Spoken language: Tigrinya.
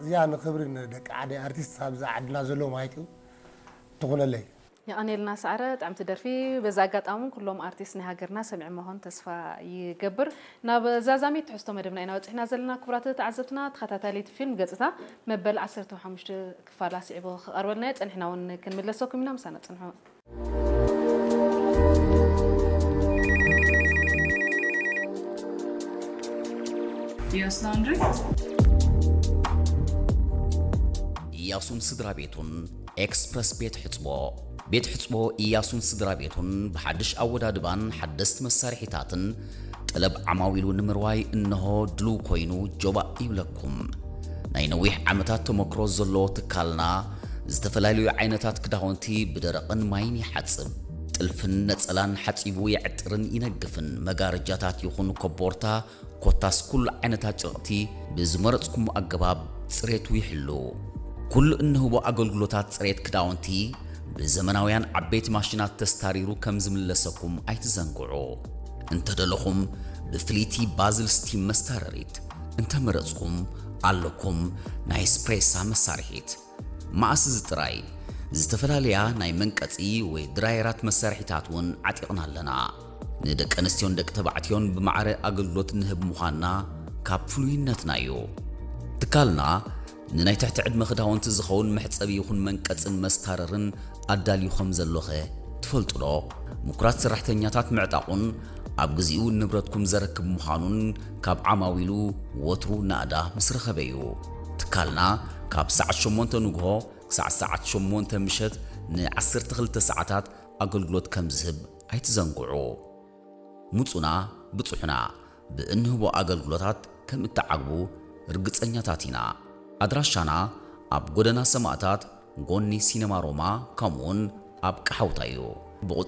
እዚኣ ንክብሪ ንደቂ ዓደይ ኣርቲስት ኣብዚ ዓድና ዘለዉ ማለት እዩ ትኹነለይ። የቐኔልና ሰዓረ፣ ጥዕምቲ ደርፊ። በዚ ኣጋጣሚ ኩሎም ኣርቲስት ናይ ሃገርና ሰሚዖም መኾን ተስፋ ይገብር። ናብ ዛዛሚት ትሕዝቶ መደብና ኢና በፂሕና ዘለና። ክቡራት ተዓዘብትና፣ ተኸታታሊት ፊልም ገፅታ መበል ዓሰርተ ሓሙሽተ ክፋላ ስዒቡ ክቐርበልና እዩ። ፀኒሕና እውን ክንምለሰኩም ኢና፣ ምሳና ፅንሑ። Yes, Laundry. ኢያሱን ስድራ ቤቱን ኤክስፕረስ ቤት ሕጽቦ። ቤት ሕጽቦ ኢያሱን ስድራ ቤቱን ብሓድሽ ኣወዳድባን ሓደስቲ መሳርሒታትን ጠለብ ዓማዊሉ ንምርዋይ እንሆ ድሉው ኮይኑ ጆባእ ይብለኩም። ናይ ነዊሕ ዓመታት ተመክሮ ዘለዎ ትካልና ዝተፈላለዩ ዓይነታት ክዳውንቲ ብደረቕን ማይን ይሓጽብ። ጥልፍን ነጸላን ሓጺቡ የዕጥርን ይነግፍን። መጋረጃታት ይኹን ኮቦርታ ኮታስ ኩሉ ዓይነታት ጨርቕቲ ብዝመረጽኩም ኣገባብ ጽሬቱ ይሕሉ። ኩሉ እንህቦ ኣገልግሎታት ጽሬት ክዳውንቲ ብዘመናውያን ዓበይቲ ማሽናት ተስታሪሩ ከም ዝምለሰኩም ኣይትዘንግዑ። እንተደለኹም ብፍልይቲ ባዝል ስቲም መስታረሪት፣ እንተመረጽኩም ኣለኩም ናይ ስፕሬሳ መሳርሒት። መኣስ እዚ ጥራይ፣ ዝተፈላለያ ናይ መንቀጺ ወይ ድራየራት መሳርሒታት እውን ዓጢቕና ኣለና። ንደቂ ኣንስትዮን ደቂ ተባዕትዮን ብማዕረ ኣገልግሎት ንህብ ምዃንና ካብ ፍሉይነትና እዩ። ትካልና ንናይ ትሕቲ ዕድመ ክዳውንቲ ዝኸውን መሕጸቢ ይኹን መንቀጽን መስታረርን ኣዳልዩ ከም ዘሎኸ ትፈልጡ ዶ? ምኩራት ሰራሕተኛታት ምዕጣቑን ኣብ ግዚኡ ንብረትኩም ዘረክብ ምዃኑን ካብ ዓማዊሉ ወትሩ ናእዳ ምስ ረኸበ እዩ። ትካልና ካብ ሰዓት ሸሞንተ ንግሆ ክሳዕ ሰዓት ሸሞንተ ምሸት ንዓሰርተ ክልተ ሰዓታት ኣገልግሎት ከም ዝህብ ኣይትዘንግዑ። ምጹና ብጹሑና፣ ብእንህቦ ኣገልግሎታት ከም እትዓግቡ ርግጸኛታት ኢና። ኣድራሻና ኣብ ጎደና ሰማእታት ጎኒ ሲነማ ሮማ ከምኡውን ኣብ ቀሓውታ እዩ። ብቑጽሪ